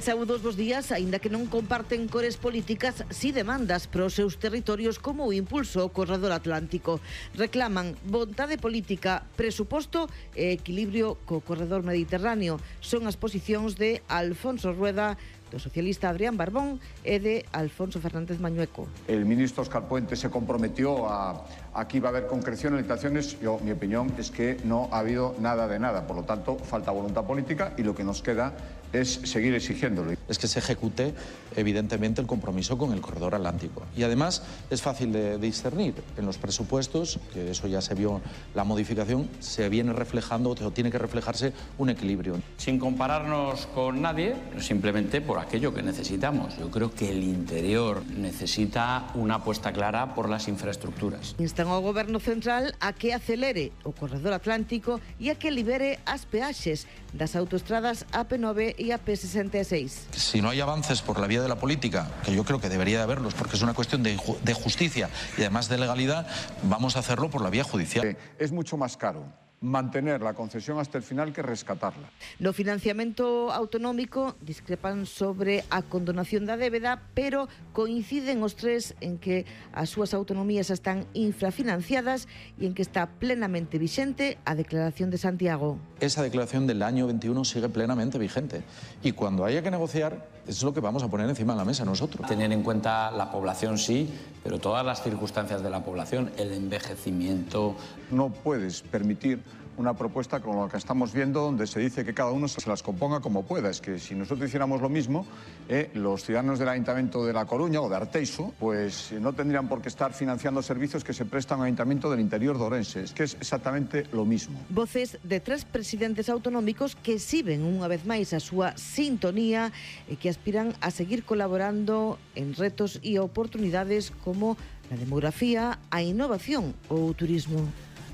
Saúdos, bos días. Aínda que non comparten cores políticas, si demandas para os seus territorios como o impulso ao corredor atlántico. Reclaman vontade política, presuposto e equilibrio co corredor mediterráneo. Son as posicións de Alfonso Rueda, do socialista Adrián Barbón e de Alfonso Fernández Mañueco. El ministro Óscar Puente se comprometió a que iba a haber concreción en licitaciones. Mi opinión es que no ha habido nada de nada. Por lo tanto, falta voluntad política y lo que nos queda es seguir exigiéndolo. Es que se ejecute, evidentemente, el compromiso con el corredor atlántico. Y además es fácil de discernir. En los presupuestos, que eso ya se vio la modificación, se viene reflejando, o tiene que reflejarse un equilibrio. Sin compararnos con nadie, simplemente por aquello que necesitamos. Yo creo que el interior necesita una apuesta clara por las infraestructuras. Instan ao Goberno Central a que acelere o corredor atlántico e a que libere as peaxes das autoestradas AP9 y AP66. Si no hay avances por la vía de la política, que yo creo que debería de haberlos, porque es una cuestión de justicia y además de legalidad, vamos a hacerlo por la vía judicial. Es mucho más caro mantener la concesión hasta el final que rescatarla. No financiamento autonómico discrepan sobre a condonación da débeda, pero coinciden os tres en que as súas autonomías están infrafinanciadas e en que está plenamente vixente a Declaración de Santiago. Esa declaración del año 21 sigue plenamente vigente y cuando haya que negociar es lo que vamos a poner encima de la mesa nosotros. Tener en cuenta la población sí, pero todas las circunstancias de la población, el envejecimiento. No puedes permitir una propuesta como la que estamos viendo, donde se dice que cada uno se las componga como pueda. Es que si nosotros hiciéramos lo mismo, los ciudadanos del Ayuntamiento de La Coruña o de Arteixo, pues no tendrían por qué estar financiando servicios que se prestan al Ayuntamiento del interior de Ourense. Es que es exactamente lo mismo. Voces de tres presidentes autonómicos que exhiben unha vez máis a súa sintonía e que aspiran a seguir colaborando en retos e oportunidades como a demografía, a innovación ou o turismo.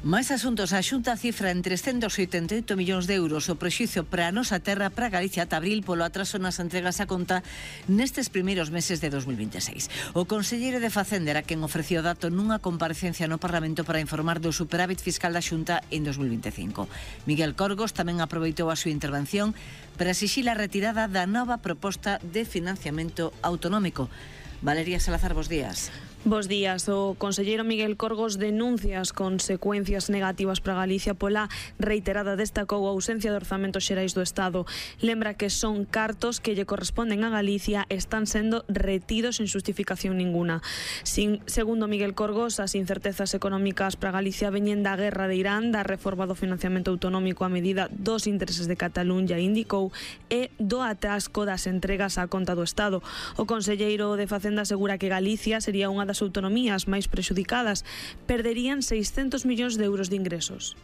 Máis asuntos. A Xunta cifra en 388 millóns de euros o prexuízo para a nosa terra, para Galicia, ata abril polo atraso nas entregas a conta nestes primeiros meses de 2026. O conselleiro de Facenda era quen ofreció o dato nunha comparecencia no Parlamento para informar do superávit fiscal da Xunta en 2025. Miguel Corgos tamén aproveitou a súa intervención para exixir a retirada da nova proposta de financiamento autonómico. Valeria Salazar, bos días. Bos días. O conselleiro Miguel Corgos denuncia as consecuencias negativas para Galicia pola reiterada destacou a ausencia de orzamentos xerais do Estado. Lembra que son cartos que lle corresponden a Galicia e están sendo retidos sen xustificación ninguna. Segundo Miguel Corgos, as incertezas económicas para Galicia veñen da guerra de Irán, da reforma do financiamento autonómico a medida dos intereses de Cataluña, indicou, e do atasco das entregas á conta do Estado. O conselleiro de Facenda asegura que Galicia sería unha das autonomías máis prexudicadas, perderían 600 millóns de euros de ingresos.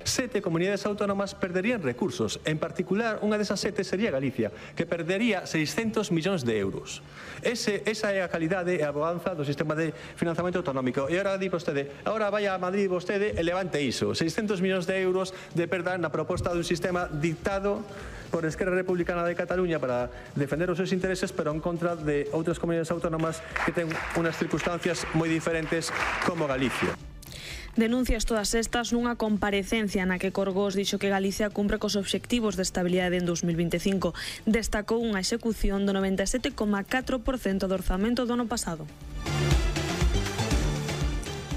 7 comunidades autónomas perderían recursos. En particular, unha desas 7 sería Galicia, que perdería 600 millóns de euros. Esa é a calidade e a bonanza do sistema de financiamento autonómico. E agora di vostede, agora vai a Madrid vostede e levante iso. 600 millóns de euros de perda na proposta dun sistema dictado por Esquerra Republicana de Cataluña para defender os seus intereses, pero en contra de outras comunidades autónomas que ten unas circunstancias moi diferentes como Galicia. Denuncias todas estas nunha comparecencia na que Corgos dixo que Galicia cumpre cos obxectivos de estabilidade en 2025. Destacou unha execución do 97,4% do orzamento do ano pasado.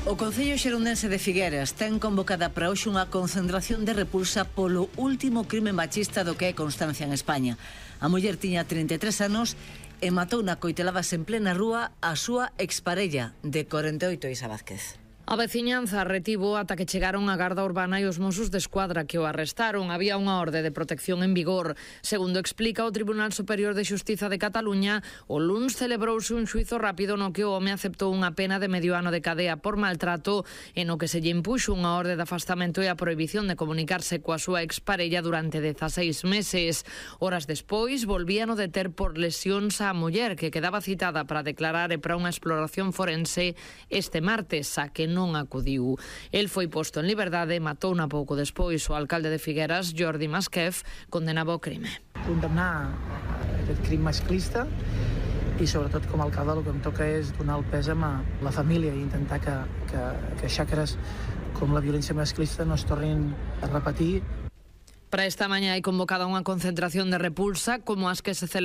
O Concello Xerundense de Figueras ten convocada para hoxe unha concentración de repulsa polo último crime machista do que é constancia en España. A muller tiña 33 anos e matou na coiteladas en plena rúa a súa exparella de 48, Isa Vázquez. A veciñanza retivo ata que chegaron a Garda Urbana e os Mossos de Escuadra que o arrestaron. Había unha orde de protección en vigor. Segundo explica o Tribunal Superior de Xustiza de Cataluña, o luns celebrouse un xuizo rápido no que o home aceptou unha pena de medio ano de cadea por maltrato e no que se lle impuxo unha orde de afastamento e a prohibición de comunicarse coa súa exparella durante 16 meses. Horas despois, volvían o deter por lesións á muller que quedaba citada para declarar e para unha exploración forense este martes, a que non acudiu. El foi posto en liberdade e matou na pouco despois. O alcalde de Figueras, Jordi Masquef, condenava o crime. Condemnar aquest crim masclista i sobretot com a alcalde el que em toca és donar el pes a la família i intentar que xacres com la violència masclista no es tornin a repetir. Para esta mañá hai convocada unha concentración de repulsa como as que se celebra